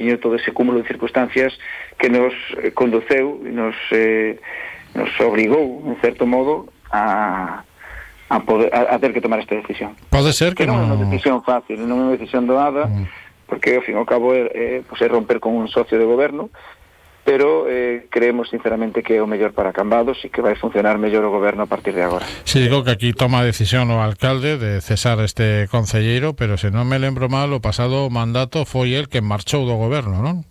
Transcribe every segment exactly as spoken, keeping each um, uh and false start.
poquinho todo ese cúmulo de circunstancias que nos conduceu e nos, eh, nos obrigou, en certo modo, a, a, poder, a, a ter que tomar esta decisión. Pode ser que, que non non... é unha decisión fácil, non é unha decisión doada, mm. porque, ao fin e ao cabo, é, é, pues, é romper con un socio de goberno, pero eh, creemos sinceramente que é o mellor para Cambados e que vai funcionar mellor o goberno a partir de agora. Si, digo que aquí toma a decisión o alcalde de cesar este concelleiro, pero se non me lembro mal, o pasado mandato foi el que marchou do goberno, non?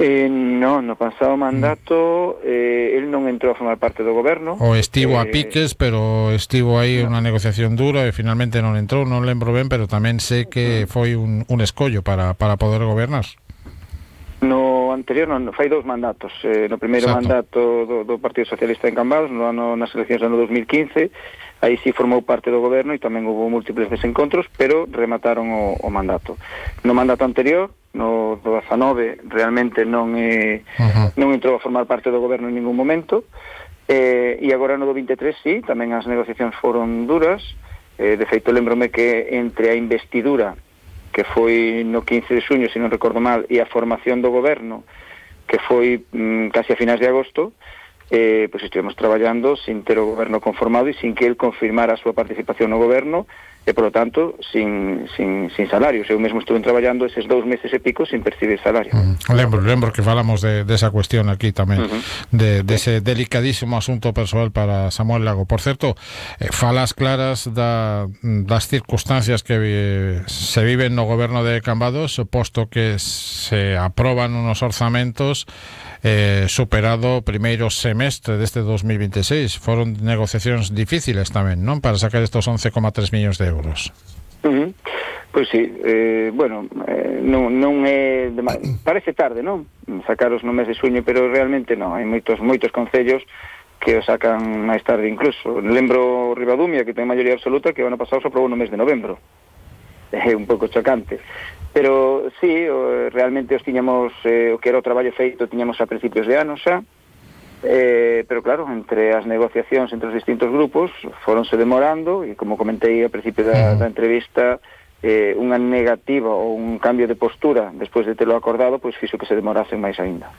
Eh, non, no pasado mandato eh, el non entrou a formar parte do goberno. O estivo eh, a piques, pero estivo aí no. unha negociación dura e finalmente non entrou, non lembro ben, pero tamén sei que foi un, un escollo para, para poder gobernar. No anterior, non, fai dous mandatos. Eh, no primeiro Exacto. mandato do, do Partido Socialista en Cambados, no ano, nas eleccións do ano dos mil quince, aí sí formou parte do goberno e tamén houve múltiples desencontros, pero remataron o, o mandato. No mandato anterior, no do dezanove, realmente non, eh, uh-huh. non entrou a formar parte do goberno en ningún momento, eh, e agora no do vinte e tres, sí, tamén as negociacións foron duras. Eh, de feito, lembrome que entre a investidura, que foi no quince de xuño, se non recordo mal, e a formación do goberno, que foi mm, casi a finais de agosto, eh, pois estivemos traballando sin ter o goberno conformado e sin que el confirmara a súa participación no goberno, e, polo tanto, sin, sin, sin salarios. Eu mesmo estuve traballando eses dous meses e pico sin percibir salario. Mm, lembro, lembro que falamos de, de esa cuestión aquí tamén, uh-huh. de, de ese delicadísimo asunto persoal para Samuel Lago. Por certo, eh, falas claras da, das circunstancias que eh, se viven no goberno de Cambados, posto que se aproban unos orzamentos eh, superado o primeiro semestre deste dos mil vinte e seis. Foron negociacións difíciles tamén, non? Para sacar estos once coma tres millóns de euros. Uh-huh. Pois sí, eh, bueno, eh, non, non é de, parece tarde, non? Sacaros no mes de xuño, pero realmente non, hai moitos moitos concellos que o sacan máis tarde incluso. Lembro Ribadumia, que ten maioría absoluta, que o ano pasado se aprobou no mes de novembro. É un pouco chocante. Pero sí, o, realmente os tiñamos, eh, o que era o traballo feito, tiñamos a principios de ano xa. Eh, pero claro, entre as negociacións entre os distintos grupos foronse demorando e, como comentei ao principio da, da entrevista, eh, unha negativa ou un cambio de postura despois de telo acordado, pois fixo que se demorasen máis aínda.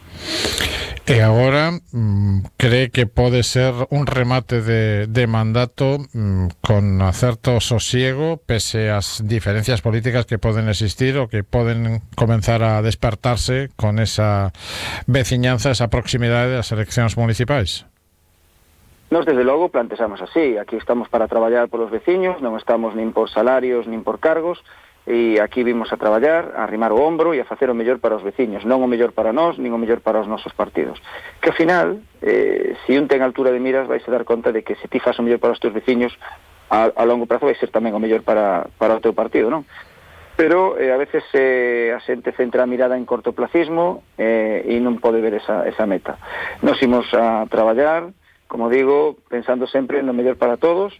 E agora mm, cree que pode ser un remate de, de mandato mm, con certo sosiego pese ás diferencias políticas que poden existir ou que poden comenzar a despertarse con esa veciñanza, esa proximidade das eleccións municipais? Nos, desde logo, plantexamos así. Aquí estamos para traballar polos veciños, non estamos nin por salarios, nin por cargos, e aquí vimos a traballar, a arrimar o ombro e a facer o mellor para os veciños, non o mellor para nós, nin o mellor para os nosos partidos. Que ao final, eh, se un ten altura de miras, vais a dar conta de que se ti faz o mellor para os teus veciños, a, a longo prazo vai ser tamén o mellor para, para o teu partido, non? Pero eh, a veces eh, a xente centra a mirada en cortoplacismo eh, e non pode ver esa, esa meta. Nos imos a traballar, como digo, pensando sempre no mellor para todos,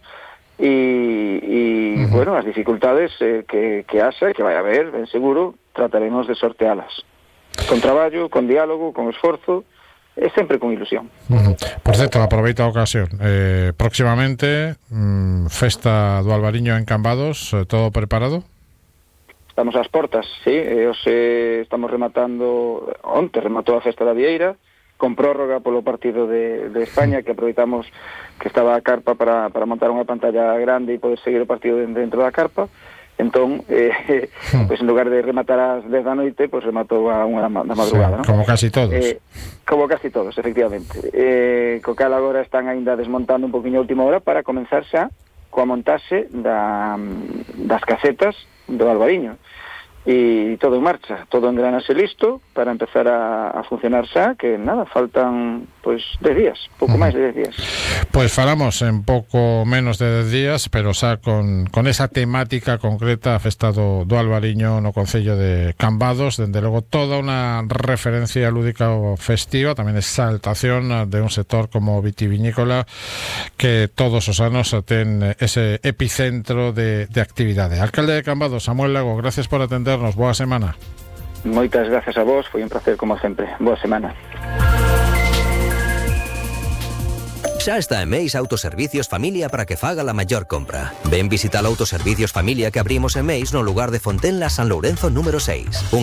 e, e uh-huh. bueno, as dificultades eh, que, que haxa, que vai haber, ben seguro, trataremos de sortealas. Con traballo, con diálogo, con esforzo, e sempre con ilusión. Uh-huh. Por certo, aproveita a ocasión. Eh, próximamente, mmm, festa do Albariño en Cambados, eh, todo preparado? Estamos ás portas, sí. E os, eh, estamos rematando, onte rematou a festa da Vieira, con prórroga polo partido de, de España, que aproveitamos que estaba a carpa para, para montar unha pantalla grande e poder seguir o partido dentro da carpa. Entón, eh, pues en lugar de rematar ás dez da noite, pues rematou a unha da madrugada, sí, ¿no? Como casi todos. Eh, como casi todos, efectivamente. Eh, co cal agora están aínda desmontando un poquinho a última hora para comenzar xa coa montaxe da, das casetas do Albariño. E todo en marcha, todo engranase listo para empezar a, a funcionar xa, que nada, faltan pois dez días, pouco máis de dez días. Pois falamos en pouco menos de dez días, pero xa con, con esa temática concreta, a festa do, do Albariño no concello de Cambados, dende logo toda unha referencia lúdica ou festiva, tamén exaltación de un sector como vitivinícola que todos os anos ten ese epicentro de, de actividade. Alcalde de Cambados, Samuel Lago, gracias por atender. Boa semana. Moitas gracias a vos, foi un placer como sempre. Boa semana. Xa está en Meis Autoservicios Familia para que faga la maior compra. Ven visitar Autoservicios Familia que abrimos en Meis no lugar de Fontenla San Lourenzo número seis. Un